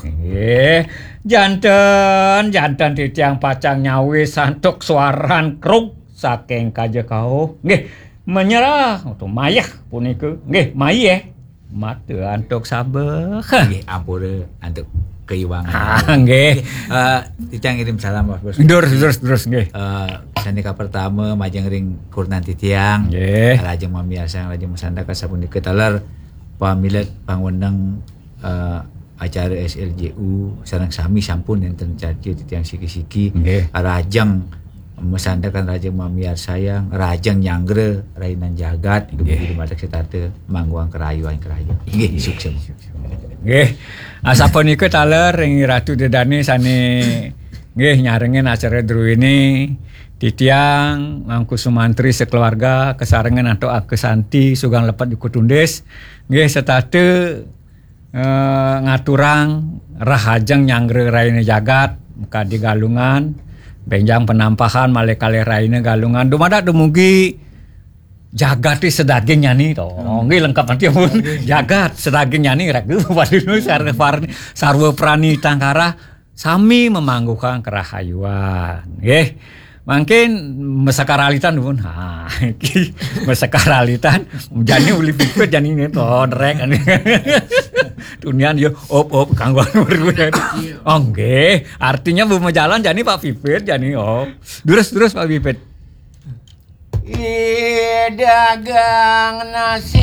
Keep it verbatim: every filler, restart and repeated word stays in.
Nggih, janten, janten titiang pacang nyawis antuk suaran kruk saking kaja kauh. Nggih, menyerah utawi mayeh punika. Nggih, mayeh. Mata antuk sabeh. Nggih, ampura antuk kaiwangan. Ah, nggih. Eh, titiang ngirim salam, Pak Bos. Durus, durus, durus, nggih. Eh, sané kapertama majeng ring kurenan titiang. Nggih. Rahajeng mamiarsayang, rahajeng masandekan sapunika taler pamilet pangweneng, eh, acara S L J U sareng sami sampun nénten carca titiang siki-siki. Nggih. Rahajeng masandekan, rahajeng mamiarsayang, rahajeng nyanggra rahinan jagat, dumogi dumateng setata mangguhang karahayuan karahayuan. Nggih, suksma. Nggih. Asapunika taler ring Ratu Ida Dané sané nggih nyarengin acara druéné, titiang Mangku Sumantri sakeluarga kasarengin antuk Aka Santi Sugang Lepet Juku Tundis. Nggih, setata eh, ngaturang rahajeng nyanggra raina jagat, kadi Galungan, bénjang Penampahan malih kalih raina Galungan, dumadak dumugi jagaté sadaging nyani to. Nggih, lengkap nanti pun. Jagat sadaging nyani raga paduna sarwa parni, sarwa prani tangkara sami mamangguhang karahayuan. Nggih. Mangkin masakaralitan pun. Ha, iki masakaralitan jani uli pipit jani ini to, ndrek. Tunian yo op op kanggo anu. Oh, nggih, artinya bu majalan jani Pak Pipit jani op. Durus, durus Pak Pipit. Ih, dagang nasi.